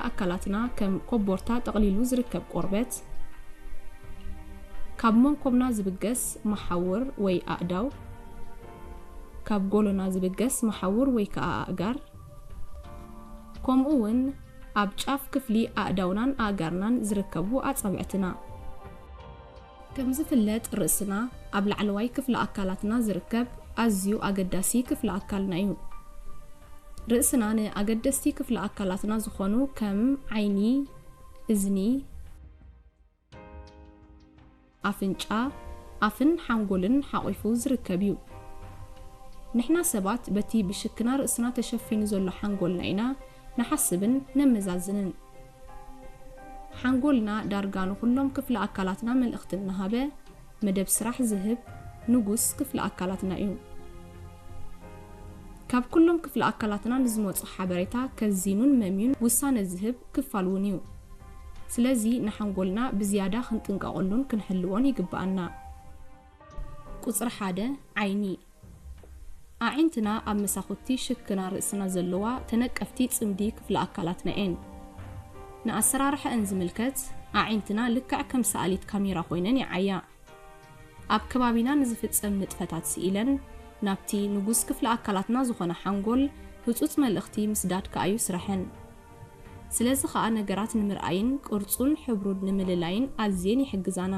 ኣካላትና ከም ኮቦርታ ጠቕሊሉ ዝርከብ ቆርበት፣ ካብ መንኮብና ዝብገስ መሓውር ወይ ኣእዳው፣ ካብ ጎሎና ዝብገስ መሓውር ወይ ከኣ ኣእጋር፣ ከምኡ እውን ኣብ ጫፍ ክፍሊ ኣእዳውናን ኣእጋርናን ዝርከቡ ኣጻብዕትና። ከም ዝፍለጥ፣ ርእስና ኣብ ላዕለዋይ ክፍሊ ኣካላትና ዝርከብ ኣዝዩ ኣገዳሲ ክፍሊ ኣካልና እዩ። ርእስና ንኣገደስቲ ክፍሊ ኣካላትና ዝኾኑ ከም ዓይኒ፣ እዝኒ፣ ኣፍንጫ፣ ኣፍን ሓንጎልን ሓቒፉ ዝርከብ እዩ። ንሕና ሰባት በቲ ብሽክና ርእስና ተሸፊኑ ዘሎ ሓንጎልና ኢና ንሓስብን ነመዛዝንን። ሓንጎልና ዳርጋ ንኹሎም ክፍሊ ኣካላትና መልእኽቲ እናሃበ መደብ ስራሕ ዝህብ ንጉስ ክፍሊ ኣካላትና እዩ። ካብ ኩሎም ክፍሊ ኣካላትና ንዝመጹ ሓበሬታ ከዚኑን መምዩን ውሳነ ዝህብ ክፋል እውን እዩ። ስለዚ ንሓንጎልና ብዝያዳ ክንጥንቀቐሉን ክንሕልዎን ይግብኣና። ቁጽሪ ሓደ፣ ዓይኒ። ኣዒንትና ኣብ መሳኹቲ ሽክና ርእስና ዘለዋ ተነቀፍቲ ጽምዲ ክፍሊ ኣካላትና እየን። ንኣሰራርሓአን ዝምልከት፣ ኣዒንትና ልክዕ ከም ሰኣሊት ካሜራ ኮይነን ይዓያ። ኣብ ከባቢና ንዝፍጸም ንጥፈታት ስኢለን ናብቲ ንጉስ ክፍሊ ኣካላትና ዝኾነ ሓንጎል ህጹጽ መልእኽቲ ምስዳድ ከኣ እዩ ስረሐን። ስለዚ ኸኣ ነገራት ንምርኣይን ቅርጹን ሕብሩን ንምልላይን ኣዝየን ይሕግዛና።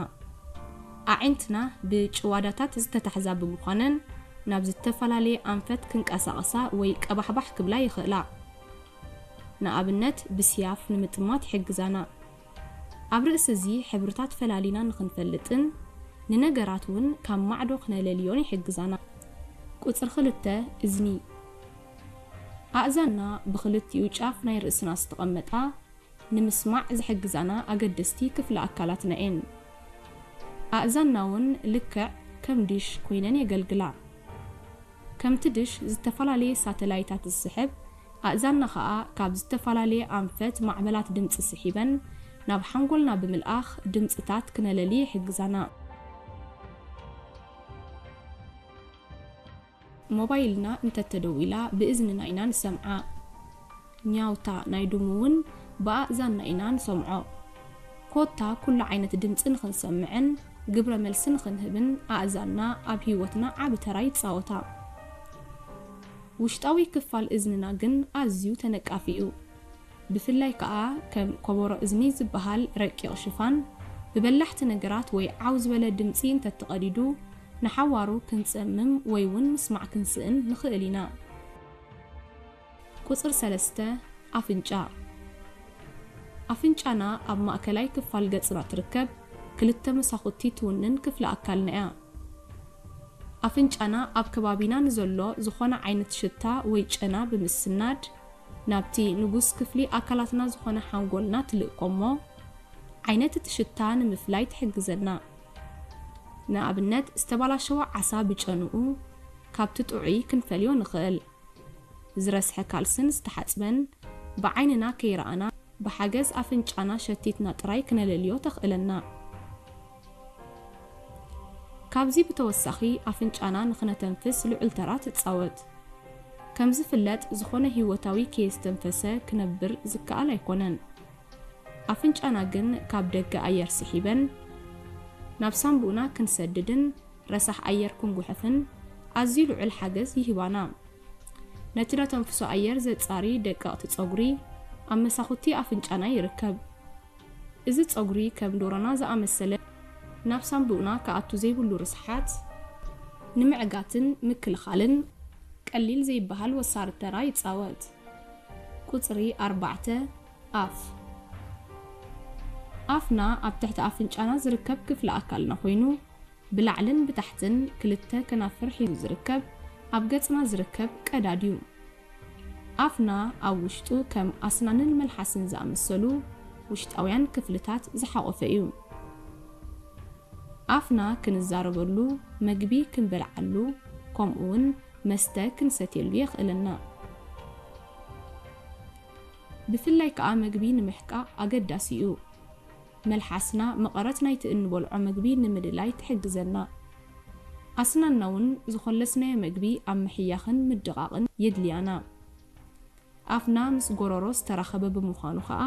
ኣዒንትና ብጭዋዳታት ዝተታሕዛ ብምዃነን ናብ ዝተፈላለየ ኣንፈት ክንቀሳቐሳ ወይ ቀባሕባሕ ክብላ ይኽእላ። ንኣብነት ብስያፍ ንምጥማት ይሕግዛና። ኣብ ርእሲ እዚ ሕብርታት ፈላሊና ንኽንፈልጥን ንነገራት እውን ካብ ማዕዶ ክነለልዮን ይሕግዛና። ቁጽሪ ክልተ፣ እዝኒ። ኣእዛንና ብኽልቲኡ ጫፍ ናይ ርእስና ዝተቐመጣ ንምስማዕ ዝሕግዛና ኣገደስቲ ክፍሊ ኣካላትና እየን። ኣእዛንና እውን ልክዕ ከም ዲሽ ኮይነን የገልግላ። ከምቲ ድሽ ዝተፈላለየ ሳተላይታት ዝስሕብ፣ ኣእዛንና ኸኣ ካብ ዝተፈላለየ ኣንፈት ማዕበላት ድምጺ ስሒበን ናብ ሓንጎልና ብምልኣኽ ድምጽታት ክነለሊ ይሕግዛና። ሞባይልና እንተተደዊላ ብእዝንና ኢና ንሰምዓ። ኛውታ ናይ ድሙ እውን ብኣእዛንና ኢና ንሰምዖ። ኮታ ኩሉ ዓይነት ድምጺ ንኽንሰምዕን ግብረ መልሲ ንኽንህብን ኣእዛንና ኣብ ህይወትና ዓቢ ተራ ይጻወታ። ውሽጣዊ ክፋል እዝንና ግን ኣዝዩ ተነቃፊ እዩ። ብፍላይ ከኣ ከም ኮቦሮ እዝኒ ዝበሃል ረቂቕ ሽፋን ብበላሕቲ ነገራት ወይ ዓው ዝበለ ድምጺ እንተተቐዲዱ ንሓዋሩ ክንጸምም ወይ እውን ምስማዕ ክንስእን ንኽእል ኢና። ቁጽሪ ሰለስተ፣ ኣፍንጫ። ኣፍንጫና ኣብ ማእከላይ ክፋል ገጽና ትርከብ ክልተ መሳኹቲ ትውንን ክፍሊ ኣካልና እያ። ኣፍንጫና ኣብ ከባቢና ንዘሎ ዝኾነ ዓይነት ሽታ ወይ ጨና ብምስናድ ናብቲ ንጉስ ክፍሊ ኣካላትና ዝኾነ ሓንጎልና ትልእኮ እሞ ዓይነት እቲ ሽታ ንምፍላይ ትሕግዘና። ንኣብነት ዝተባላሸወ ዓሳ ብጨንኡ ካብቲ ጥዑይ ክንፈልዮ ንኽእል። ዝረስሐ ካልስን ዝተሓጽበን ብዓይንና ከይረኣና ብሓገዝ ኣፍንጫና ሸቲትና ጥራይ ክነለልዮ ተኽእለና። ካብዚ ብተወሳኺ ኣፍንጫና ንኽነተንፍስ ልዑል ተራ ትጻወት። ከም ዝፍለጥ ዝኾነ ህይወታዊ ከየስተንፈሰ ክነብር ዝከኣል ኣይኮነን። ኣፍንጫና ግን ካብ ደገ ኣየር ስሒበን ናብ ሳንቡእና ክንሰድድን ረሳሕ ኣየር ክንጉሕፍን ኣዝዩ ልዑል ሓገዝ ይህባና። ነቲ ነተንፍሶ ኣየር ዘጻሪ ደቀቕቲ ጸጉሪ ኣብ መሳኹቲ ኣፍንጫና ይርከብ። እዚ ጸጉሪ ከም ዶሮና ዝኣመሰለ ናብ ሳንቡእና ክኣቱ ዘይብሉ ርስሓት ንምዕጋትን ምክልኻልን ቀሊል ዘይበሃል ወሳሪ ተራ ይጻወት። ቁጽሪ ኣርባዕተ፣ ኣፍ። ኣፍና ኣብ ትሕቲ ኣፍንጫና ዝርከብ ክፍሊ ኣካልና ኮይኑ ብላዕልን ብታሕትን ክልተ ከናፍር ሒዙ ዝርከብ ኣብ ገጽና ዝርከብ ቀዳድ እዩ። ኣፍና ኣብ ውሽጡ ከም ኣስናንን መልሓስን ዝኣመሰሉ ውሽጣውያን ክፍልታት ዝሓቖፈ እዩ። ኣፍና ክንዛረበሉ፣ መግቢ ክንበልዓሉ፣ ከምኡውን መስተ ክንሰትየሉ የኽእለና። ብፍላይ ከኣ መግቢ ንምሕቃቕ ኣገዳሲ እዩ። መልሓስና መቐረት ናይቲ እንበልዖ መግቢ ንምልላይ ትሕግዘና። ኣስናንና እውን ዝኾለስናዮ መግቢ ኣብ ምሕያኽን ምድቓቕን የድልያና። ኣፍና ምስ ጎረሮ ዝተራኸበ ብምዃኑ ኸኣ